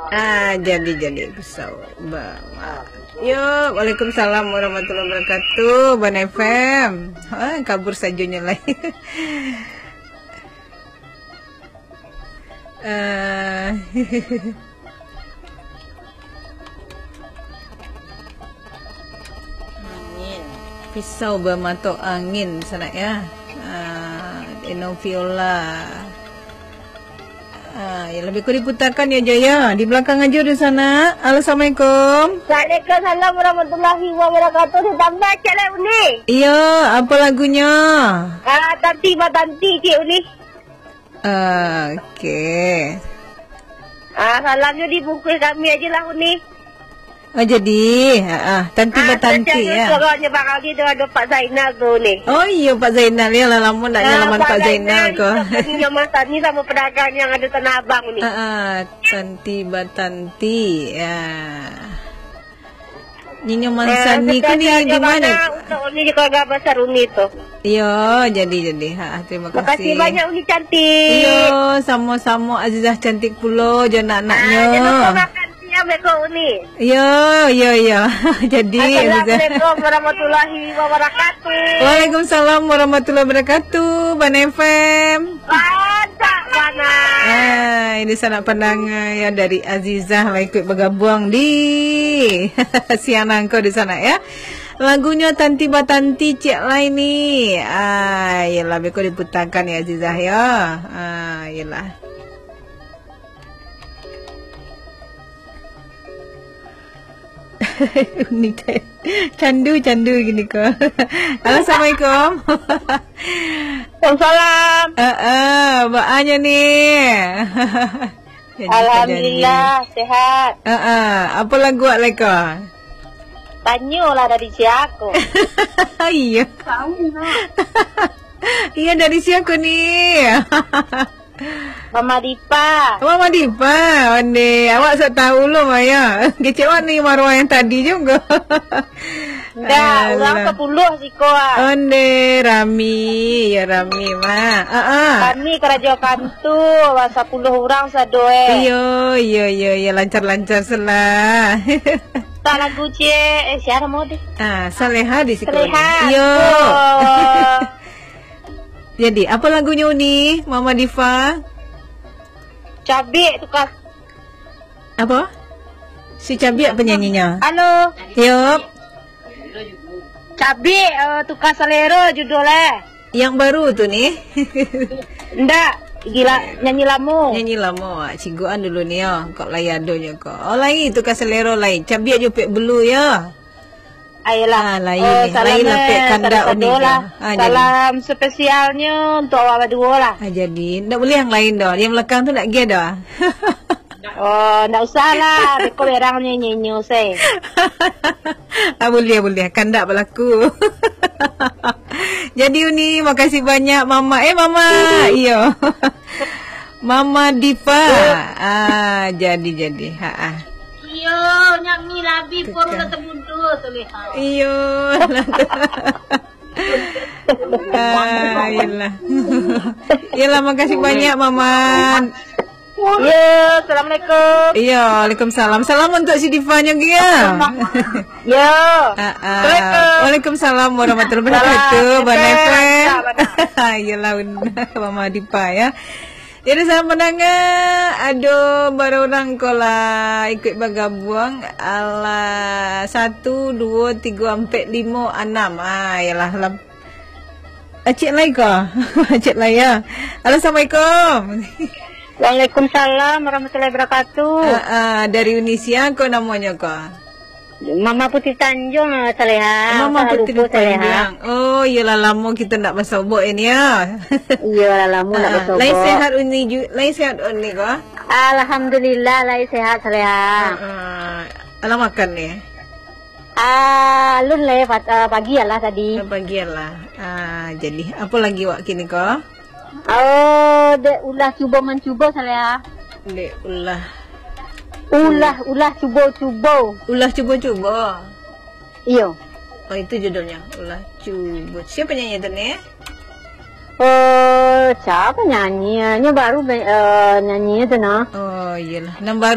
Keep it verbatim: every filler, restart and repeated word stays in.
Ah, jadi, jadi pisau. Ba-, yo, waalaikumsalam warahmatullahi wabarakatuh, Ban F M. Ha, kabur sajonyo lai. Eh, pisau bamato angin sanak ya. Ah, Eno Viola. Ah, ya, lebih kurang diputarkan ya, Jo, ya. Di belakang aja di sana. Halo, assalamualaikum. Waalaikumsalam warahmatullahi wabarakatuh. Ditambah cek lah, Uni. Iya, apa lagunya? Ah, Tanti Batanti, Cik Uni. Oke. Ah, salamnya dibungkus kami aja lah, Uni. Oh, jadi, ha, ah, Tanti Ah, Batanti, spesial ya. Suaranya Bang Ali tu ada Pak Zainal tu, Uni. Oh, iya, Pak Zainal, ya lah, lama nak Ah, nyalaman Pak Pak Zainal Zainal ko. Itu Nyonya Masani sama pedagang yang ada Tanah Abang, Uni. Ah, ah, Tanti Batanti, ya. Nyonya Ah, Masani ko ni spesial di mana? Bang, untuk Uni di keluarga besar Uni tu. Iya, jadi, jadi. Ha, terima kasih. Makasih banyak, Uni cantik. Iya, sama-sama Azizah cantik pulo, jo anak-anaknya. Ah, jangan lupa makan siang beko, Uni. Iya, iya, iya. Jadi, Azizah. Assalamualaikum warahmatullahi wabarakatuh. Waalaikumsalam warahmatullahi wabarakatuh, Ban F M. Pasak panas. Ah, ini sanak pandanga ya dari Azizah lah ikut bergabung di siang nangko di sana ya. Lagunyo Tanti Batanti cek lai ni. Ah, yelah, beko diputakan ya Azizah ya. Ah, yelah. Uni ca-, candu, candu gini ko. Halo, assalamualaikum. Waalaikumsalam. Eh, eh, baanyo ni. Jadi, Alhamdulillah, sehat. Eh, eh, apa lagu awak lai ko? Tanyolah dari sia ko. Iya. Tahu, nak. Iya, dari sia ko ni? Mama Dipa. Mama Dipa, onde. Awak sok tahu lo, Maya. Kecek awak ni maruah yang tadi juga. Ndak, urang Alah. Sapuluh siko, ah. Onde, rami. Ya, rami, Mak. Ah, ah. Kami karajo kantu, wah, sapuluh urang sado, eh. Iyo, iyo, iyo, iyo. Lancar-lancar selah. Tak lagu, Cik. Eh, siapa mau deh? Ah, Saleha di siko. Saleha. Iyo. Oh. Jadi, apa lagunyo ni, Mama Diva? Cabiak tukar. Apa? Si Cabiak penyanyinya? Halo. Yup. Cabiak, eh, tukar selera judul, eh. Yang baru tu ni? Ndak, gila, nyanyi lamo. Nyanyi lamo, ah, cigoan dulu ni, yo. Kok lai adonyo ko. Oh, lai, tukar selera lai. Cabiak jo pek belu, yo. Ayolah. Ah, lain Eh, ni. Salam Lain lah, eh, pek kandak sado-sado unik lah. Ah, jadi. Salam spesialnyo untuk awak baduo lah. Ah, jadi. Ndak boleh yang lain doh. Yang belakang tu ndak ge doh. Oh, ndak usah lah. Beko berang nyo nyenyo se. Ah, boleh, boleh. Kandak berlaku. Jadi, Uni, makasih banyak, Mama. Eh, Mama. Iyo. Mama Diva. Ah, jadi, jadi. Ha ah. Iyo, nyak mi labi pun Tukar. Kata bundo tu lihat. Iyo. Ah, iyalah. Iyalah, makasih banyak, Mama. Yo, assalamualaikum. Iyo, waalaikumsalam. Salam untuk si Diva nyo, Gia. Yo. Ah, ah. Assalamualaikum. Waalaikumsalam warahmatullahi wabarakatuh. Salam. Bana F M. Salam. Iyalah, benar. Mama Diva, ya. Jadi, sanak pandanga, ado bara urang ko lah ikut bagabuang. Alah, satu, duo, tigo, ampek, limo, anam. Ah, iyalah, lam-, Acik lai ko. Acik lai, ya. Halo, assalamualaikum. Waalaikumsalam warahmatullahi wabarakatuh. Ah, ah, dari Unisia ko namonyo ko? Mama Putih Tanjung, ah, Saleha. Mama Salah Putih lupa, Saleha. Tanjung. Oh, iyolah, lamo kito ndak basobok ini, ya. Iyolah, lamo ndak Ah, basobok. Lai sehat Uni ju-, lai sehat Uni ko? Alhamdulillah, lai sehat, Saleha. Ah, ah. Alah makan ni? Ah, alun lai, pat-, ah, pagi lah tadi. Ah, pagi lah. Ah, jadi, apa lagi wak kini ko? Oh, dek ulah cubo mancubo, Saleha. Dek ulah. Ulah, ulah cubo-cubo. Ulah cubo-cubo. Iyo. Oh, itu judulnya. Ulah cubo. Siapa nyanyi tu ni? Oh, siapa nyanyi? Nyo baru be-, eh, nyanyi tu nah. Oh, iyalah. Nan baru